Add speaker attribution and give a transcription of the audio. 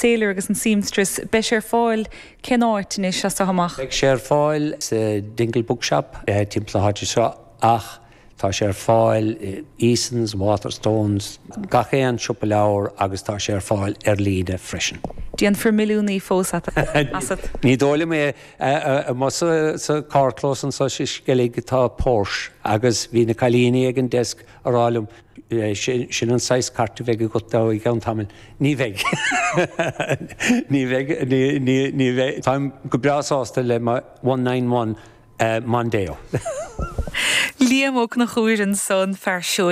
Speaker 1: Sailor agus an Seamstress, beidh sé ar fáil cén áit anois as seo amach?
Speaker 2: Beidh sé ar fáil sa Dingle Bookshop timpeall na háite seo ach tá sé ar fáil i Easons, Waterstones, gach aon siopa leabhar agus tá sé ar fáil ar líne freisin.
Speaker 1: Déanfar milliúnaí fós asat.
Speaker 2: Ní dóigh liom é. Amuigh sa carrchlós anseo sa Sceilg tá Porsche agus bhí na cailíní ag an desk a rá liom, Sin an saghas cairt a bheidh agat i gceann tamaill. Ní bheidh. Ní bheidh, ní bheidh. Táim go breá sásta le mo 191 Mondeo.
Speaker 1: Liam Ó Conchúir ansan, fear seoigh.